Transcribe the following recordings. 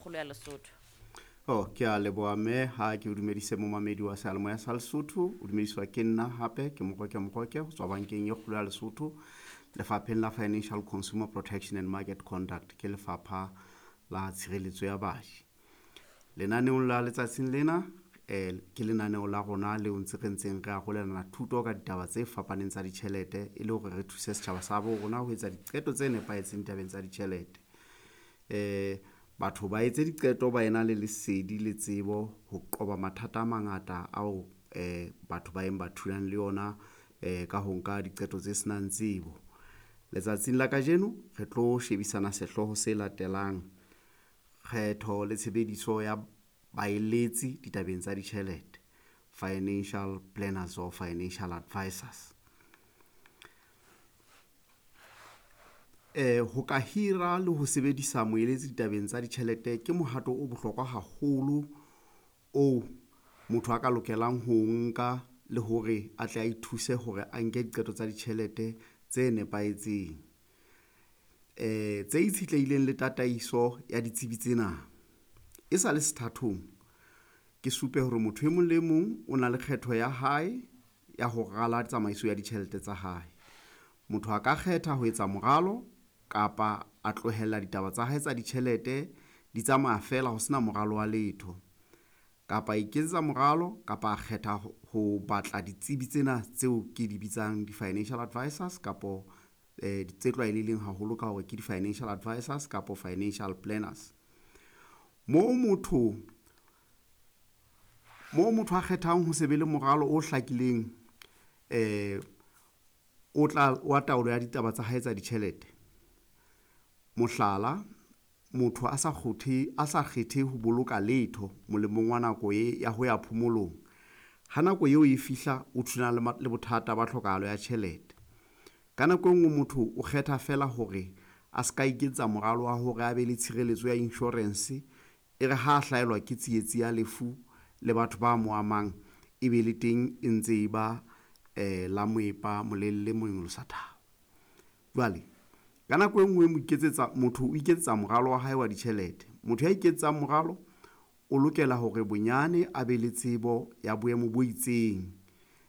Kgolo ya Lesotho. Oh, ke a leboha mme ha ke o dumedise momamedi wa seyalemoya sa Lesotho. O dumediswa ke nna hape ke Moroke Moroke ho tswa bankeng e kgolo ya Lesotho, lefapheng la Financial Consumer Protection and Market Conduct, ke lefapha la tshireletso ya baji. Lenaneong la letsatsing lena ke lenaneo la rona leo ntse re ntseng re arolelana thuto ka ditaba tse fapaneng tsa ditjhelete e le hore re thuse setjhaba sa bo rona ho etsa diqeto tse nepahetseng tabeng tsa ditjhelete. Batho ba etse diqeto ba ena le lesedi le tsebo ho qoba mathata a mangata ao batho ba eng ba thulang le yona ka ho nka diqeto tse senang tsebo. Letsatsing la kajeno re tlo shebisana sehlooho se latelang, kgetho le tshebediso ya baeletsi ditabeng tsa ditjhelete, financial planners or financial advisors. Ho ka hira le ho sebedisa moeletsi ditabeng tsa ditjhelete ke mohato o bohlokwa haholo oo motho a ka lokelang ho nka le hore a tle a ithuse hore a nke diqeto tsa ditjhelete tse nepahetseng, tse itshetlehileng le tataiso ya ditsebi tsena. E sa le sethathong, ke supe hore motho e mong le mong o na le kgetho ya hae ya ho rala tsamaiso ya ditjhelete tsa hae. Motho a ka kgetha ho etsa moralo kapa a tlohella ditaba tsa hae tsa ditjhelete di tsamaya feela ho sena moralo wa letho, kapa a iketsetsa moralo kapa a kgetha ho batla ditsebi tsena tseo ke di bitsang di-financial advisors kapo tse tlwaelehileng haholo ka hore ke di-financial advisors kapo financial planners. Moo motho a kgethang ho se be le moralo o hlakileng o tla wa taolo ya ditaba tsa hae tsa ditjhelete. Mohlala, motho a sa kgethe ho boloka letho molemong wa nako e ya ho ya phomolong. Ha nako eo e fihla, o thulana le bothata ba tlhokahalo ya tjhelete. Ka nako e nngwe motho o kgetha feela hore a ska iketsetsa moralo wa hore a be le tshireletso ya insurance, e re ha hlahelwa ke tsietsi ya lefu le batho ba mo amang, e be le teng e ntse e ba la moepa molelle monyolosa thaba. Jwale ka nako e nngwe motho o iketsetsa moralo wa hae wa ditjhelete. Motho ya iketsetsang moralo o lokela hore bonyane a be le tsebo ya boemo bo itseng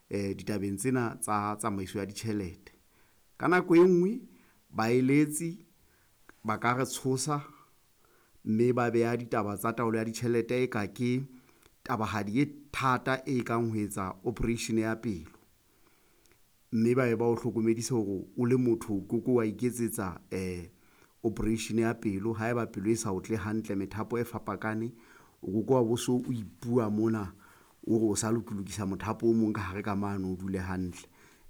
ditabeng tsena tsa tsamaiso ya ditjhelete. Ka nako e nngwe baeletsi ba ka re tshosa mme ba beha ditaba tsa taolo ya ditjhelete e ka ke tabahadi e thata e kang ho etsa operation ya pelo, mme ba be ba o hlokomedise hore o le motho o ke ke wa iketsetsa operation ya pelo haeba pelo e sa otle hantle, methapo e fapakane, o ke ke wa bo so o ipua mona o re o sa lokilokisa mothapo o mong ka hare ka mane o dule hantle.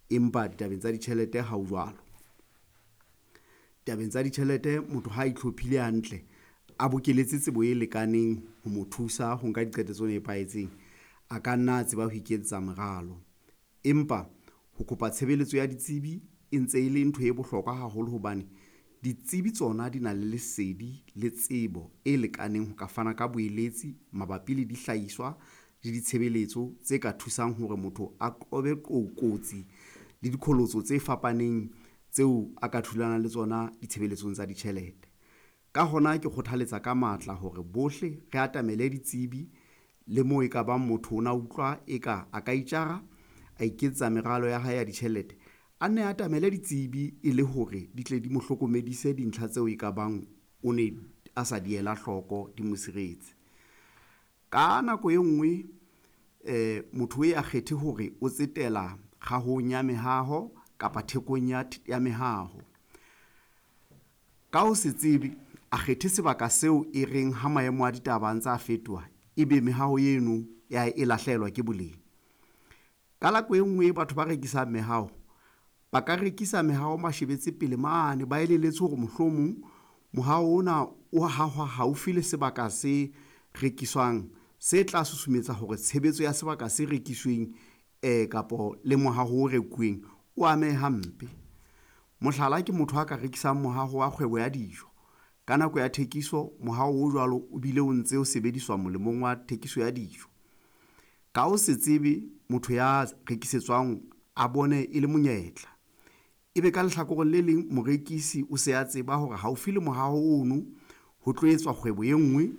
Empa ditabeng tsa ditjhelete ha o jwalo. Tabeng tsa ditjhelete motho ha itlhophile hantle, a bokeletse tsebo e lekaneng ho mo thusa ho nka diqeto tse nepahetseng, a ka nna a tseba ho iketsetsa moralo. Empa ho kopa tshebeletso ya ditsebi e ntse e le ntho e bohlokwa haholo hobane ditsebi tsona di na le lesedi le tsebo e lekaneng ho ka fana ka boeletsi mabapi le dihlahiswa le ditshebeletso tse ka thusang hore motho a qobe kotsi le diqholotso tse fapaneng tseo a ka thulanang le tsona ditshebeletsong tsa ditjhelete. Ka hona ke kgothaletsa ka matla hore bohle re atamele ditsebi le moo e ka bang motho o na utlwa eka a ka itjara a iketsetsa meralo ya hae ya ditjhelete, a nne atamele ditsebi e le hore di tle di mo hlokomedise dintlha tseo e ka bang o ne a sa di ela hloko di mo siretse. Ka nako e nngwe motho e a kgethe hore o tsetela kgahong ya mehaho kapa thekong ya mehaho. Ka ho se tsebe, a kgethe sebaka seo e reng ha maemo a ditaba a ntse a fetoha, ebe mehaho eno ya e lahlehelwa ke boleng. Ka nako e nngwe batho ba rekisang mehaho ba ka rekisa mehaho mashebetse pele mane, ba elelletswe hore mohlomong mohaho ona o hahwa haufi le sebaka se rekiswang se tla susumetsa hore tshebetso ya sebaka se rekisweng kapo le mohaho o rekuweng o amehe hampe. Mohlala ke motho a ka rekisang mohaho wa kgwebo ya dijo. Ka nako ya thekiso mohaho o jwalo o bile o ntse o sebediswa molemong wa thekiso ya dijo. Ka ho se tsebe motho ya rekisetswang a bone e le monyetla, ebe ka lehlakoreng le leng morekisi o se a tseba hore haufi le mohaho ono ho tlo etswa kgwebo e nngwe